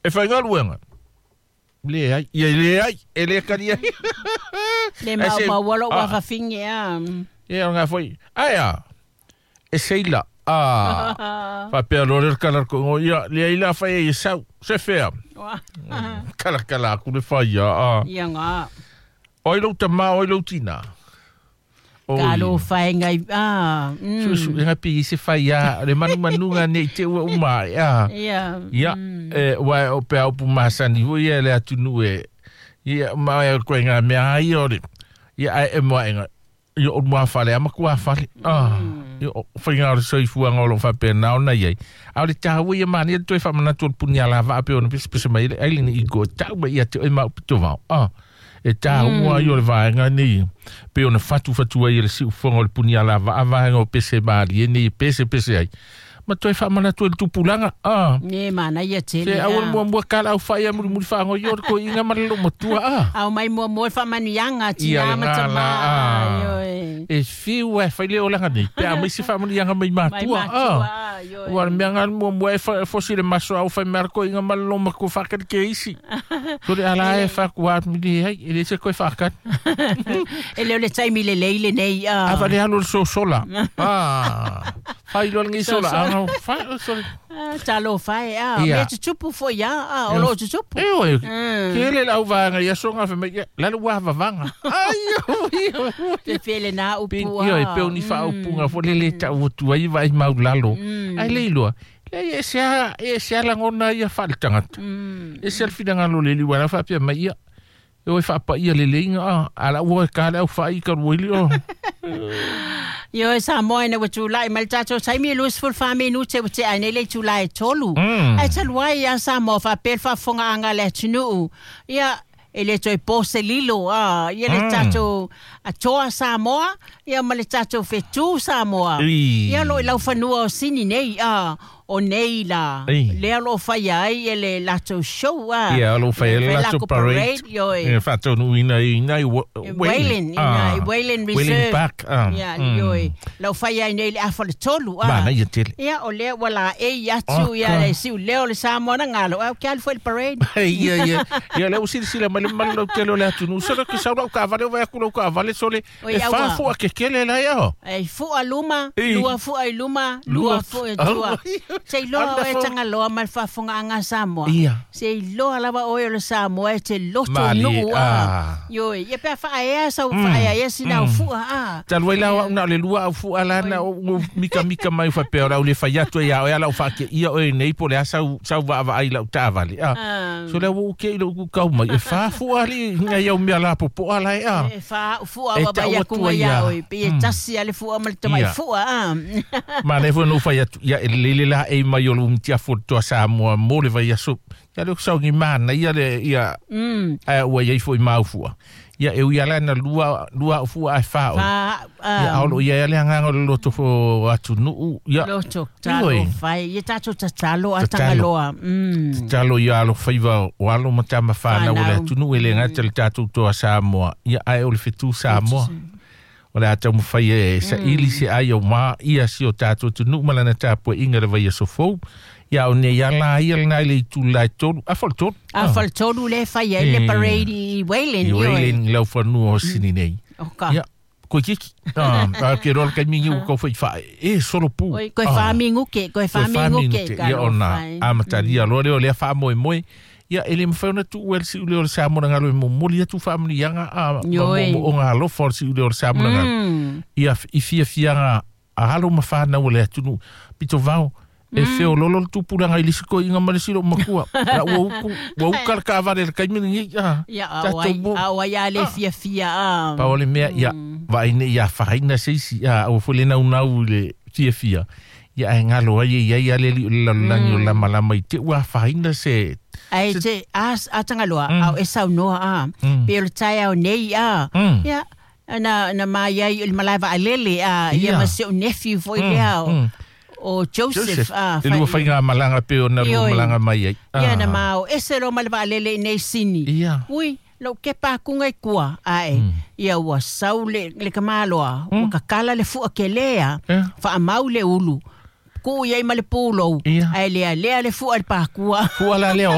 E faigaluega. Leai, ia leai, e le kali ai. Le E mau se- mau lo Ah. wa fafinge a. Ia o ngā foi. Ai a. E seila. Ah. Faapea loa le kala ko ngo ia le ila fai e sau. Se fea. Kala kala ku le fai ia. Ah. Ia ngā. Oi lou tama, oi lou tina. Oi. Ka lo whai ngai. Ah. Su su nga pi se fai ia le manu manuga nei te ua uma ia. Ia. Ia, e wa o pe au pu masani hu ia le atunu e. Ia ma e koe ngā mea ai o le. Ia ai e moa enga. Ia o mua fale, ama kua fale. Ah, ia o whainga o le soifuanga o lo whapea nā ona iai. A o le tāua ia mani, ia toe whamanatu o le puni a lava ape o na pese pese mai le aile ni i ko tau mai ia te oi mau pito vao. Ah, e tāua ai o le vaenga nei. Pe ona whatu whatu ai le siufonga o le puni a lava a vaenga o pese maali e nei pese pese ai. Ma toe whamanatu e le tupulanga. Ah, Ne mana ia tele. Se awal mua mua kala au whai a muri muri whaango i ora ko inga mara lo matua a. Au mai mua mua whamanianga Ia tina le ma ngā tama. la, ah. Ioi. E whiu e whai le olanga nei. Pe a mai se whamanianga mai Mai matua. matua. Ah. Ioi. Ua mea ngā mua mua e fosi le maso au whai mea ko inga mara lo matua whakari ke isi. Tore ala e whakua mili hei, e le se koe whakat. E leo le taimi le leile nei. A wale halo le sosola. Ah. Whai lo ngi sola. Sosola. Ah, whai lo sola. Talo whai. Ah. Ia. Mea tutupu fo ia. Ah. O lo tutupu. E oe, Mm. ke le lau vanga ia songa wha mai, lalu wā vavanga. Ai, oi, oi. Te whele nā upu. Pe io e pe ni fa upunga fo le le tau atu ai vai mau lalo. Ai le iloa. Le e se a langona ia fa le tangata. E se al fina ngalo le liwa la fa pia mai ia. E oi fa pa ia le le inga a ala ua ka le au fa i ka ruili o. Io e Samoa ina ua tulai mai le tatou taimi e 24 minute ua tea ai nei le itulā e 3. Ae talu ai ia Samoa faapea le faafofogaaga a le atunuu. Ia e le toe po se lilo a ia le tatou atoa Samoa ia ma le tatou fetū Samoa. Ī. Ia lo i laufanua o Sini nei a o nei la. Ī. Lea lo o faia ai e le latou show a. Ia lo fa e Fai la to lako parade. ioe. E fa tonu ina ina i Wayland, ina i Wayland Wayland Reserve. Park. Ah. Ia, ioe. Lau fai ai nei le afa le tolu. Ah. Mana ia tele. Ia, o lea ua la e i atu Oh, ia ka. le siu leo le Samoa na ngalo. Au ke alu foi le parade. Ia ia. Ia le usili sila mai le malu lau tele o le atunu. Solo ke sau lau ka vale o vai aku lau ka vale sole. Oi, E aua. fa fua ke kele la ia. Ei, fua luma, Ei. lua fua i luma, lua fua i tua. Se iloa Anda oe fo- tangaloa ma le faafogaaga Samoa. Ia. Se iloa lava oe o le Samoa e te loto Mali, nuu a. ah. Ioe, ia pea faaea sau faaeaea sina au fua a. Talu ai la au na le lua au fua la na o o mika mika mai fa pe ora le fai atu ia o ia fa ke ia o nei po le sau sau va va ai lau tavale. Ah. Ah. So le wo ke lo ku kau mai e fa fua li ngai au mea la po po ala e a. E fa fua E wa tau bai atu aku ngai ai ia. ia oi. Pe e tasi ale fua ma le tamai Ia. fua a. Ma le fo no fai atu ia e le le la e mai o lo mtia fo to sa mo mo le vai aso. Ia le sau ngi mana ia le ia a ua ia ifo i mau fua. Ia e ui ala na lua lua fua a fa o. Fa Ia aolo ia le anganga o le loto fo atu nuu. Ia Loto talo Ioe. fai. Ia tatou tatalo a Tatalo. tangaloa. Mm. Talo ia alo faiva o alo matama whanau o le Whanau. atunu e le ngata le tātou toa Samoa. Ia ai o le fetu Samoa. O le atau mwhai e sa ili se ai o mā ia si o tātou tunu malana tāpua inga le vai a sofou. Ia o ne ia la ia le nai le itu lai tolu. A fol tolu. A fal tolu le fai ai le Eh. parade i Wayland. I ioe. Wayland lau whanua o sini nei. O ka. Ia, koe kiki. Ah, a ke rola kai mingi u kau whai whae. E, solo pū. Oi, koe wha minguke, koe wha minguke. ka Ia lo ona, whai. a mataria loa leo lea wha moe moe. Ia, ele mwhai ona tu uel si ule o le Samoa ngalo e momoli atu wha mni ianga a Ioi. mo o ngā alofa o le si ule o le Samoa ngalo. Ia, i fia fianga a halo ma whanau o le atunu. Pito vao, e feo lolo le tupuranga i lisi ko inga male silo makua. La ua uku, ua uka le kavare le kaimini ngi. Ah, Ia, au tatou ai, mo. au ai a le fia fia a. Pa o le mea, ia, vai ne ia whaina se isi, ia, au fo le nau nau i le fia fia. Ia, ai ngalo ai, ia, ia, le li o le lalolagi o lama lama i te ua whaina se. Ai te, a tangaloa, au e sau noa a. Pe o le tai au nei a. Ia, na mai ai o le malae vaalele a. Ia Ia. ma se o nephew foi lea o. O Joseph, a. E lua whainga malanga pe o na lua Ioi. malanga mai ai. Ia Ah. na mao, ese lo ma le vaalele i nei sini. Ia. Ui, lau ke pākunga i kua, ae. Ia ua sau le kamaloa, ua kakala le fua ke lea, Ia. whaamau le ulu. Ku iai ma le pūlou, Ia. ae lea lea le fua le pākua. Fua la lea